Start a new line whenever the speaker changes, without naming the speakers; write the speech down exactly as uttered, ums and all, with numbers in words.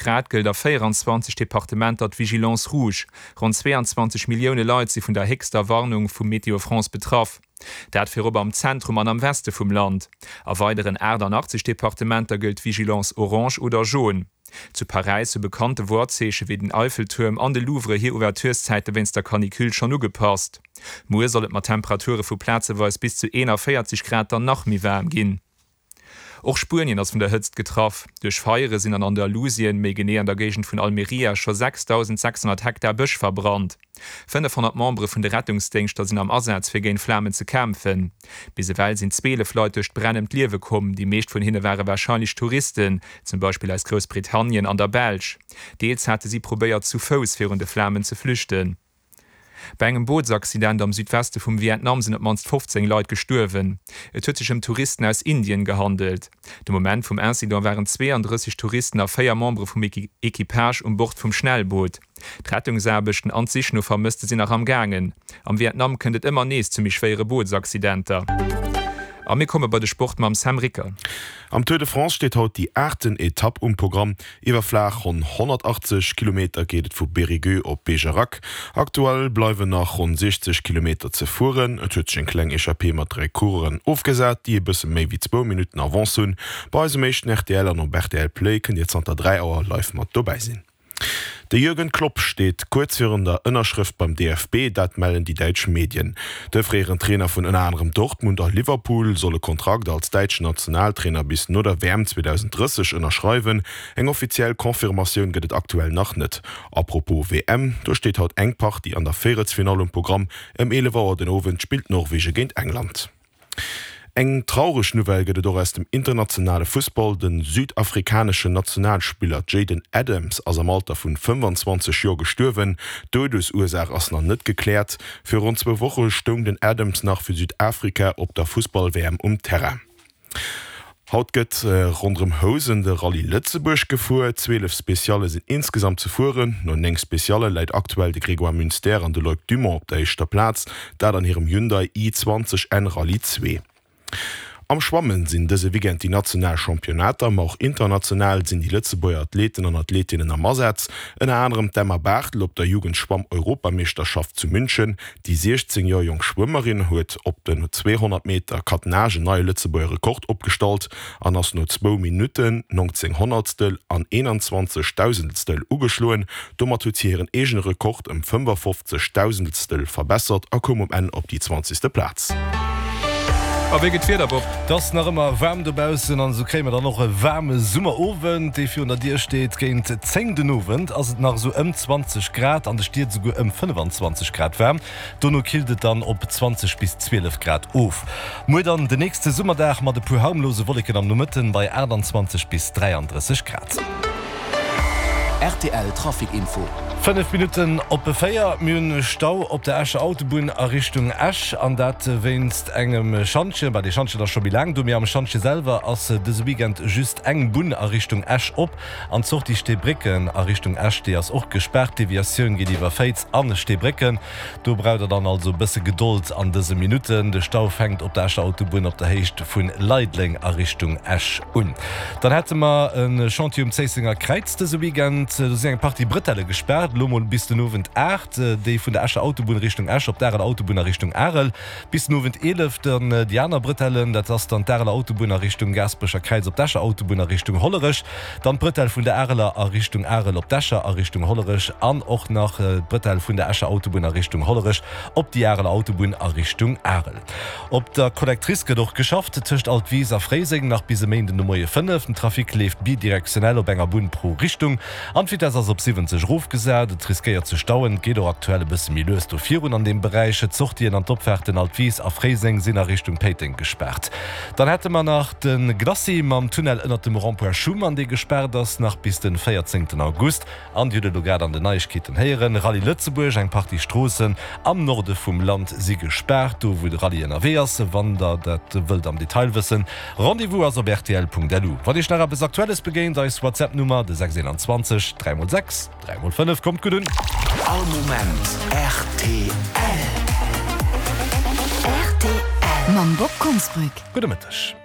Grad gëllt a véieranzwanzeg Departementer d'Vigilance rouge. Ronn zweeanzwanzeg Millioune Leit si vun der héchster Warnung vu Météo France betraff. Dat virop am Zentrum an am Weste vum Land. A weideren achtannachtzeg Departementer gëllt d'Vigilance orange oder jaune. Zu Paräis hu bekannte Worzeeche wéi den Eiffeltuerm an de Louvre hir Ouvertureszäite wéinst der Canicule schonn ugepasst. Muer soll et mat Temperature vu plazeweis bis zu eenanvéierzeg Grad dann nach méi waarm ginn. Och Spuenien ass vun der Hëtzt getraff. Duerch Feiere sinn an Andalusien, méi genee an der Géigend vun Almería, scho sechstausendsechshonnert Hektar Bësch verbrannt. Fënnefhonnert Membere vun de Rettungsdéngschter sinn am Asaz, fir géint d'Flamen ze kämpfen. Bis ewell sinn zwielef Leit duerch d'Bränn ëm d'Liewe komm. Déi meescht vun hinne ware warscheinlech Touristen, zum Beispill aus Groussbritannien an der Belsch. Deels hate si probéiert, zu Fouss virun de Flamen ze flüchten. Bei engem Bootsaccident am Südweste vum Vietnam sinn op d'mannst fofzéng Leit gestuerwen. Et huet sech ëm Touristen aus Indien gehandelt. De Moment vum Incident waren zweeandrësseg Touristen a véier Membere vum Equipage um Bord vum Schnellboot. D'Rettungsaarbechten an d'Sich no Vermësste sinn nach am gaangen. Am Vietnam kënnt et ëmmer nees zu méi schwéiere Bootsaccidenter. A mir komme bei de Sport mam Sam Ricker.
Am Tour de France steet haut déi aachten Etapp um Programm. Iwwer flaach ronn honnertachtzeg Kilometer geet et vu Périgueux op Bergerac. Aktuell bleiwen nach ronn siechzeg Kilometer ze fueren. Et huet sech eng kleng Echappée mat dräi Coureuren ofgesat, déi e bësse méi wéi zwou Minutten Avance hunn. Bei eis um éischten rtl an op rtl Play kënnt Dir zanter dräi Auer live mat dobäi sinn. De Jürgen Klopp steet kuerz virun der Ënnerschrëft beim D F B, dat mellen déi däitsch Medien. De fréieren Trainer vun ënner anerem Dortmund a Liverpool soll e Kontrakt als däitschen Nationaltrainer bis no der W M zweedausenddrësseg ënnerschreiwen. Eng offiziell Confirmatioun gëtt et aktuell nach net. A propos W M, do steet haut eng Partie an der Véierelsfinall um Programm. Ëm eelef Auer den Owend spillt Norwege géint England. Eng traureg Nouvelle gëtt et och aus dem internationale Fussball, De südafrikaneschen Nationalspiller Jayden Adams ass am Alter vun fënnefanzwanzeg Joer gestuerwen. D'Doudesursaach ass nach net gekläert. Viru ronn zwou Woche stoung den Adams nach fir Südafrika op der Fussball-W M um Terrain. Haut gëtt ronderëm Housen de Rallye Lëtzebuerg gefuer. Zwielef Specialle sinn insgesamt ze fueren. No néng Specialle läit aktuell de Grégoire Munster an de Loïc Dumont op der éischter Plaz, dat an hirem Hyundai i zwanzeg N Rallye zwee. Am Schwammen sinn dëse Weekend déi national Championnater, ma och international sinn déi Lëtzebuerger Athleten an Athletinnen am Asaz. Ënner anerem d'Emma Barthel op der Jugendschwamm-Europameeschterschaft zu München. Déi siechzéng Joer jonk Schwëmmerin huet op den zweehonnert Meter Catenage en neie Lëtzebuerger Rekord opgestallt an ass no zwou Minutten, neunzéng Honnertstel an eenanzwanzeg Dausendstel ugeschloen. Domat huet si hiren eegene Rekord ëm fënnefafofzeg Dausendstel verbessert a koum um Enn op déi zwanzegste Plaz.
A wéi gëtt d'Wieder, Bob?
Et ass nach ëmmer waarm dobaussen an esou kréie mer dann och e waarme Summerowend, dee virun der Dier steet. Géint zéng den Owend ass et nach esou ëm zwanzeg Grad, an de Stied esouguer ëm fënnefanzwanzeg Grad waarm. Dono killt et dann op zwanzeg bis zwielef Grad of. Muer dann den nächste Summerdag mat e puer harmlose Wolleken am Nomëtten bei aachtanzwanzeg bis dräiandrësseg Grad.
Rtl Trafic Info.
Fënnef Minutten op véier. Mir hunn Stau op der Escher Autobunn a Richtung Esch, an dat wéinst engem Schantjen. Bah, dee Schantjen ass scho méi laang do, mee am Schantje selwer ass dëse Weekend just eng Bunn a Richtung Esch op. An d'Sortie Steebrécken a Richtung Esch, déi ass och gespaart. D'Deviatioun geet iwwer Féiz a Steebrécken. Do braucht der dann also e bësse Gedold an dëse Minutten. De Stau fänkt op der Escher Autobunn op der Héicht vu Leideleng a Richtung Esch un. Dann hätte mer e Chantier um Zéissenger Kräiz dëse Weekend. Do sinn eng Partie Brëtelle gespaart, elo mol bis den Owend aacht, déi vun der Escher Autobunn Richtung Esch op d'Areler Autobunn a Richtung Arel. Bis den Owend eelef dann déi aner Brëtellen, dat ass dann d'Areler Autobunn a Richtung Gaasperecher Kräiz op d'Escher Autobunn a Richtung Hollerech, dann d'Brëtell vun der Areler a Richtung Arel op d'Escher a Richtung Hollerech an och nach d'Brëtell vun der Escher Autobunn a Richtung Hollerech op déi Areler Autobunn a Richtung Arel. Op der Collectrice gëtt och geschafft, tëscht Altwis a Fréiseng nach bis e Méinden de Moie fënnef. Den Trafic leeft bidirektionell op enger Bunn pro Richtung an d'Vitess ass op siwwenzeg erofgesat. Et riskéiert ze stauen, et geet och aktuell e bësse méi lues do virun an deem Beräich. D'Sortien an d'Opfaarten Altwis a Fréiseng sinn a Richtung Péiteng gespaart. Dann hätte mer nach de Glacis mam Tunnel ënnert dem Rond-point Schuman, dee gespaart ass nach bis de véierzéngten August. An Dir hutt et elo grad an den Neiegkeeten héieren, Rallye Lëtzebuerg, eng Partie Stroossen am Norde vum Land si gespaart, do wou de Rallye ënnerwee ass. Wann der dat wëllt am Detail wëssen, Rendez-vous ass op rtl.lu. Wann Iech nach eppes Aktuelles begéint, eis WhatsApp-Nummer, de sechs eenanzwanzeg dräi mol sechs dräi mol fënnef. Kommt gutt un!
All Moment rtl.
Rtl mam Bob Konsbrück.
Gudde Mëtteg.